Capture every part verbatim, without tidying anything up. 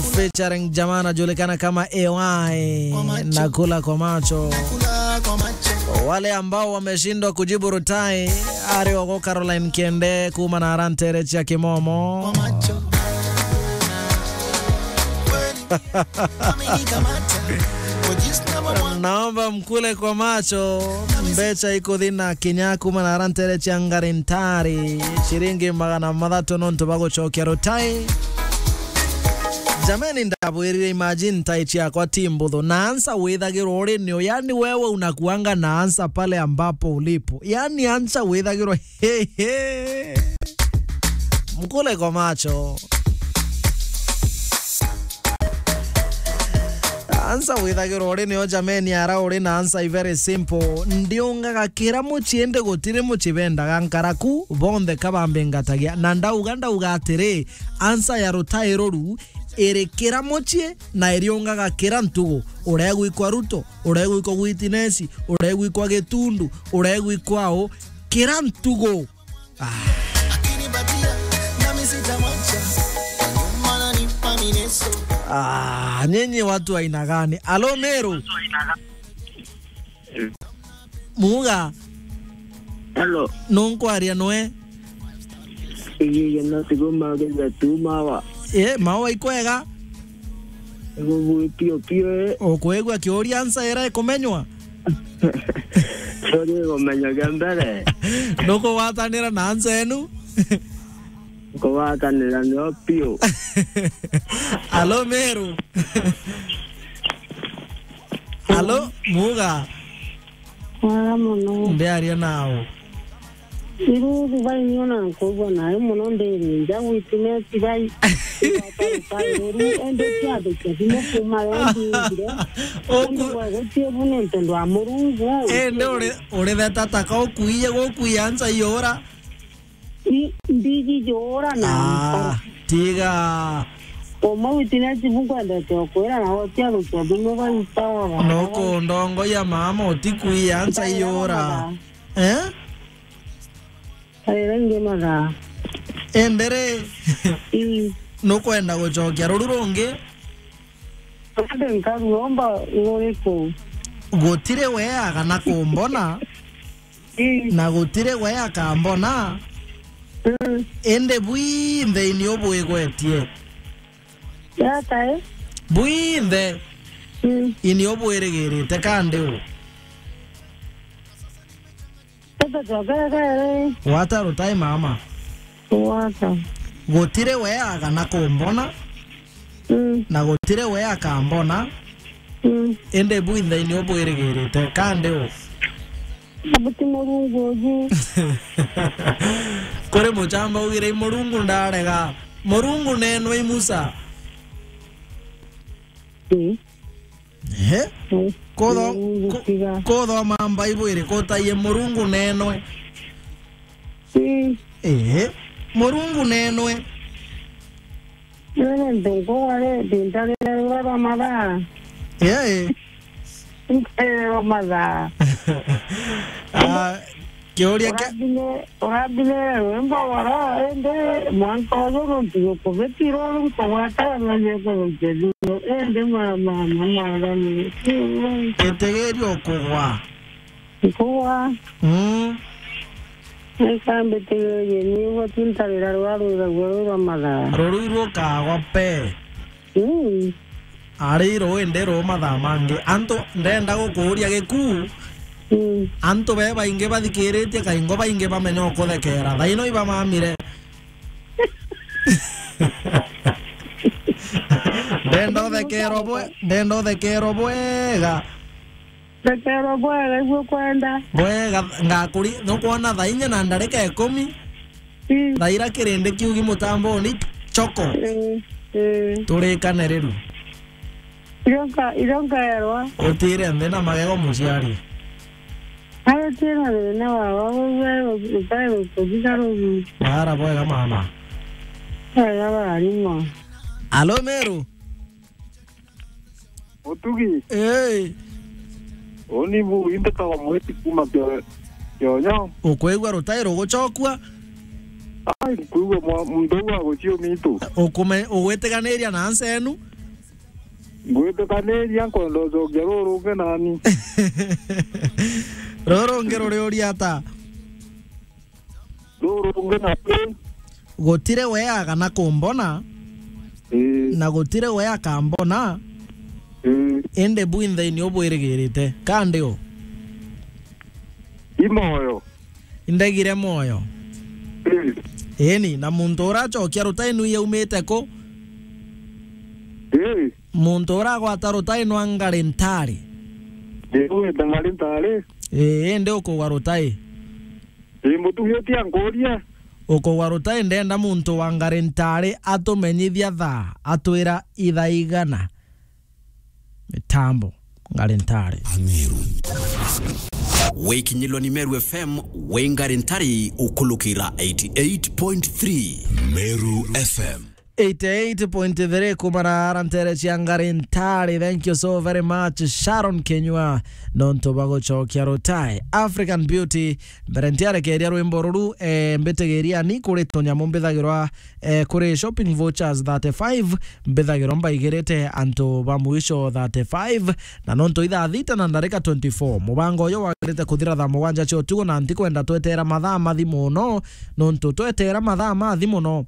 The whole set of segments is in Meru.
featuring jamaa anajulikana kama A Y na Kula kwa Macho. Wale ambao wameshindwa kujibu Rutai, ari ogo Caroline Kiende kuuma na arantere cia Kimomo. Naomba mkule kwa macho. Mbecha iko thina kinya kuuma na arantere cia Ngarintari, ciringi magana mathatu nontu bagucokia Rutai. Jameni, ndabwirire, imagine tai ciakwa ti mbuthu. Na ansa withagirwa uri nio, yani wewe unakuanga na ansa pale ambapo ulipo. Yani ansa withagirwa, he, he. Mkule kwa macho. Ansa withagirwa uri nio, jameni, ara uri na ansa i very simple. Ndiungaga kira mucii, indi gutiri mucii bendaga nkaraku, bonthe ka bambingatagia. Na ndauga, ndauga atiri, ansa ya Rutai ruru iri kira mucii na iriungaga kira ntugu. Uregwikwa Ruto, uregwikwa Gwitinesi, uregwikwa Gitundu, uregwikwa u, kira ntugu. Ah. Ah, nyinyi watu aina gani? Alo, Meru. Muga. Hello. Nunkwaria nwe? Igigia no tigo mageza tu mawa. Eh, mawa ikwega? Igo bui pio pio, eh. Ukwigua kiuria ansa ira ikumenywa? Sorry, igumenywa gia mbere. Nukugwatanira na ansa enu? Kugwatanira nio pio. Alo, Meru. Alo, Muga. Wega mono. Ndiaria nao. Iru bai niona nkuigua nayo mono, ndiri nja gwitineti bai. Igwata rutai ruru, ende ciathukia thimu kuma yo ndingire. Oku- Ende gwe gutie bu nontu ndwa Murungu. Ende uri, uri theta taka ukuiye gukuia nsa iura. I-, ndiji jura na Ah, tiga. Uma witness bu nkwendete ukwira na wotia rukia thimu baita ora. Nukundongoia mama, utikuia nsa iura. Eh? Kaira ingi mathaa. Endere. Ii. Nukwenda gucokia ruru rungi? Ande nkaruomba nguriku. Gutiri wea kana kumbona. Ii. Na gutiri wea akambona. Mm. Indi bwinthe ini ubwigwetie. Yatae? Bwinthe. Mm. Ini ubwirigirite kandi u. Tata twakere. Wata rutai mama. Wata. Gutiri wea kana kumbona. Mm. Na gutiri wea akambona. Mm. Indi bwinthe ini ubwirigirite kandi u. Abuti Murungu uju. Kuri muchamba ugire, "I Murungu ndarega." Murungu nenwe i Musa. Ii. Ehe. Ii. Kotho-, Murungu ko-, tiga. Kothoma Bible iri kutaie Murungu nenwe. Ii. Ehe. Murungu nenwe. Nene ntuku ari ndintarira rura rwa mathaa. Ee. Ntarira rwa mathaa. Ah, kiuria kia Urambine, urambine rwimbo wara, indi mwanka uyu nuntu gukubitiro nkugwata na nyekurukia thimu. Indi mama, mama, mwathani. Itigiria ukugwa. Nkugwa. Mm. Eka mbitigirie ni igwe tu ntarira rwa rwiragua rwi rwa mathaa. Ruru irukagwa pe. Mm. Ari ruu indi ruu mathaa mangi. Antu ndenda gukuuria giku. Mm. Antu be baingi bathikiritie kaingo baingi bamenya ukuthekera. Thaino ibamamire. Ndenda uthekerwa bwe-, ndenda uthekerwa bwega. Thekerwa bwega, igua kwenda. Bwega, ngakuri-, nukwona thaa inya na ndarika ikumi. Mm. Thaa ira kirindi kiugi mutamboni, choko. Mm, mm. Turikane riu. Irio nka-, irio nkaerwa. Utire nthi na magego muciari. Ayo tira thina wa, wa, wa, wa, ukae gukuthika rugi. Bara bwega mama. Bwega barimo. Alo, Meru. Utugi. Ee. Uni bu, inde kawa mwiti kuma kio-, kionyo. Ukwigua rutai rugucokua? Ai, nkwigua mwa-, muntu uu aguciumitu. Ukume-, ugwitiganiria na ncenu? Ngwitikaniria, nkwenda ucokia ruru rungi nani. Ruru rungi ruri uria ata? Ruru rungi nani? Gutire wea kana kumbona, Ii. na gutire wea akambona, Ii. indi bwinthe ni ubwirigirite. Kandi u? I moyo. Indegire moyo. Ii. Eni, na muntu uracokia rutai nu yaumite ku? Ii. Muntu uragwata rutai nwa ngari ntari? Ii, wite ngari ntari. Ii, indi ukugwa rutai? Ii, mutugi utia nkuria. Ukugwa rutai, ndenda muntu wa ngari ntari atumenyithia thaa, atwira ithaa igana. Mitambo, ngari ntari. Ameru. Wikinyilwa ni Meru F M, wi ngari ntari ukulukira eighty-eight point three. Meru F M. Eighty-eight point three kumara ara ntere cia ngari ntari. Thank you so very much, Sharon Kenywa, nontu bwa gucokia rutai. African Beauty, mbere ntiarekeria rwimbo ruru, eh, mbitigiria ni kuri tunyamu mbithagirwa, eh, kuri shopping vouchers thirty-five, mbithagirwa mbaigirite antu ba mwisho thirty-five, na nontu ithaa thita na ndarika twenty-four, mubango uyu wagirite kuthira thaa mugwanja cia utuku, na ntikwenda twetera mathaa mathi muno, nontu twetera mathaa mathi muno,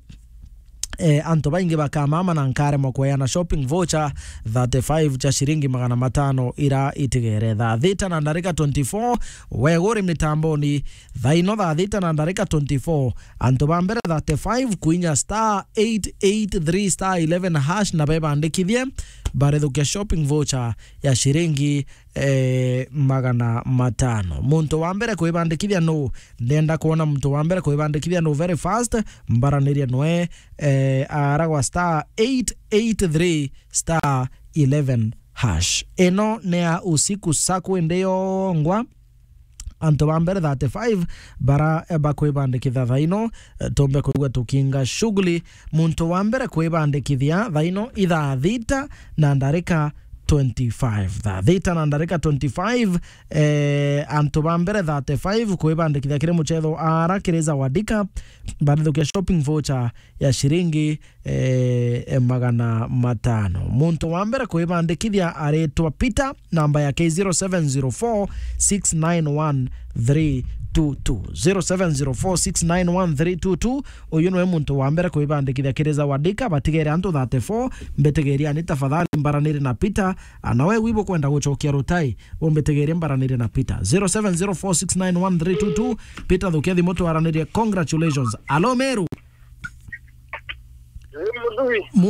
eh, antu baingi bakamama na nkaremwa kweana shopping voucher thirty-five cia ciringi magana matano ira itigere. Thaa thita na ndarika twenty-four, weguri mitamboni, thaino thaa thita na ndarika twenty-four, antu ba mbere thirty-five kuinya star eight eight three star eleven hash na bebandikithie, barithukia shopping voucher ya ciringi eh, magana matano. Muntu wa mbere kwibandikithia nu? Ndenda kwona muntu wa mbere kwibandikithia nu very fast. Mbaranirie nwe, eh, aragwa star eight eight three star eleven hash. Ino ni ya usiku saku indi yongwa. Antu ba mbere thirty-five bara, eh, bakwibandikithia thaino, eh, tumbe kwigua tukinga shughuli. Muntu wa mbere kwibandikithia thaino ithaa thita na ndarika twenty-five. Thaa thita na ndarika twenty-five, eh, antu ba mbere thirty-five kwibandikithia kiri muchetho ara kiri Zawadika, barithukia shopping voucher ya ciringi, eh, magana matano. Muntu wa mbere kwibandikithia aritwa Peter, namba yake zero seven zero four six nine one three two two. Zero seven zero four six nine one three two two. Uyu niwe muntu wa mbere kwibandikithia kiri Zawadika, batigere antu thirty-four. Mbitigiriani tafadhali, mbaranire na Peter. Ana we wibo kwenda gucokia rutai, umbitigirie mbaranire na Peter. Zero seven zero four six nine one three two two. Peter, thukia thimu twaranirie. Congratulations. Alo, Meru. Ii, Muthui. Mu-